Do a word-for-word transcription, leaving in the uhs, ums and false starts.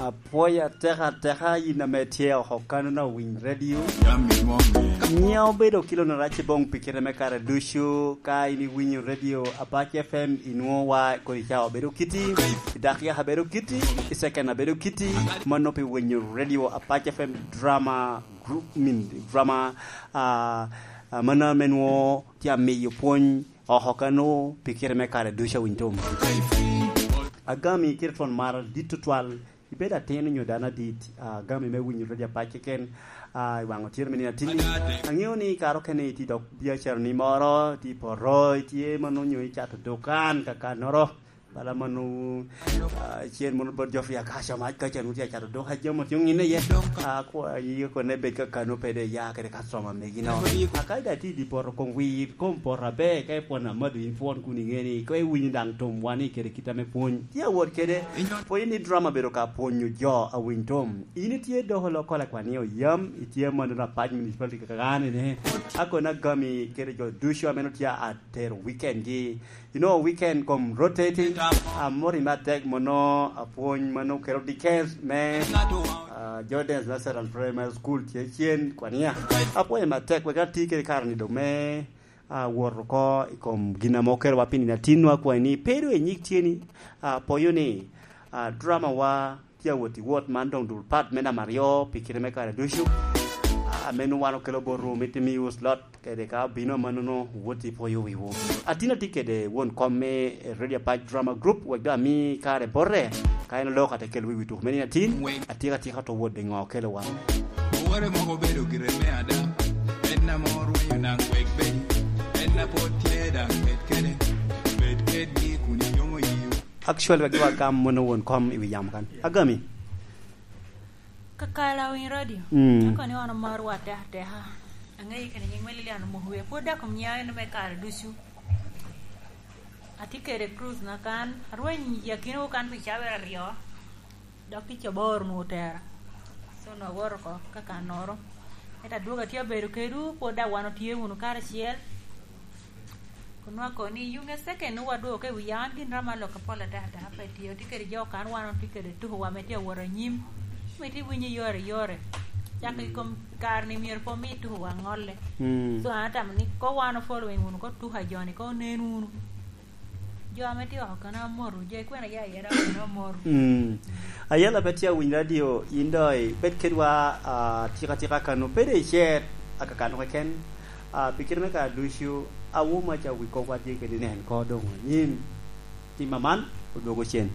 Apwoyo atek ateka yin ame tye oko kanona owiny radio. Nyiŋa obedo kilo na rac i boŋ pi kite me kare ducu. Ka in iwinyo radio Apac F M, inwoŋo wa kodi ca obedo kiti, i dakika abedo kiti, i second abedo kiti, mano pi winyo radio Apac F M drama group, min drama, ah, ah, mano ame nwoŋo tye amiyo pwony oko kano pi kite me kare ducu awiny tom. Agami kite twon mar dit tutwal, ibedo atin onyo dano adit, ah, agami me winyo radio Apac keken, ah, i waŋ otyeno me nino atinni. Aŋeo ni kare okene itye dok biacara ni moro, itye i poto, itye mano onyo icato dukan kakannoro. Bala mano, ah, cen mono bot Geoffrey Akaca mac ka can wutye acato duka jami otye oŋinne iye. Ah, kwa yie kone bed ka kano pede ya kede customer megi no. Akaca da ti di poto kom wir, kom poto aber, ka ipwon amado in pwon kun iŋe ni, ka iwinyo daŋ tom wani kede kit ame pwony. Tye awot kede, pwony ni drama bedo ka pwonyo jo awiny tom. In itye doko lokol akwani oyam, itye mano na pac municipality kakane ne. Akona gami kede jo ducu ame no tye atero weekend gi. You know, weekend kom rotating. Amor i matek mono apwony mano kelo dikens me, ah, Jordan's Nazareth Primary School tye cen kwania. Apwony matek wek ati kede kare ni do me, ah, wot oko i kom gin ame okelo wa pi nino atinwa kwai ni pedo i nyik tye ni, ah, poyo ni, ah, drama wa tye awot i wot man doŋ dul pat me namba aryo pi kite me kare ducu. Ah, meno wan okelo botwu, mito miwu slot kede ka obino amannono, wot ipwoyo wiwu. Atin atye kede won kom me Radio Apac Drama Group, wek doŋ ami kare bote, ka en oloko ate kelo wi wi tuko meno atin, atyeka atyeka to wot de ŋo okelo wa. Owore moko obedo gire me ada, en ame orwenyo naŋ wek bed, en a pwod tye daŋ bed kede, bed kedgi kun iyomo yiwu. Actually, wek giwa gam mono won kom i wi yamo kan. Agami. Kakala winy radio. Mm. Ako ni wan omaro wa teka teka. Angeyi kene nying me Lilian Omuhwe. Pwod dako mnya en me kare ducu. Atye kede cruise na kan. Arweny yakino kan pi cawa aryo. Dok tic aboro onwoŋo otera. So, nwoŋo awoto oko ka kannoro. Ento adwogo atye abedo kedwu, pwod daŋ wan otye wunu karacel. Kun nwoŋo akoni, yuŋ a second nwoŋo wadwogo ka i wi yam, an gin romo alok apol ataka ataka pe tye. Otye kede jo kan wan otye kede tukowa ame tye awot anyim. Ame tye winyo yore yore. Cak i kom kare ni myero pe omi tukowa ŋolle. Mm. So, an atamo ni ko wan o following wunu ko tuko a jo-ni, ko onen wunu. Jo ame tye oko kano amoto, jo ikwena ya yera kano amoto. Mm. Ayela pe tye awiny radio, in doŋ ibed kedwa, ah, tika tika kano, pede icer aka kano keken. Ah, pi kite me kare ducu, awo maca wi kop watye kede nen ko doŋ anyim. Tim aman, odwogo cen.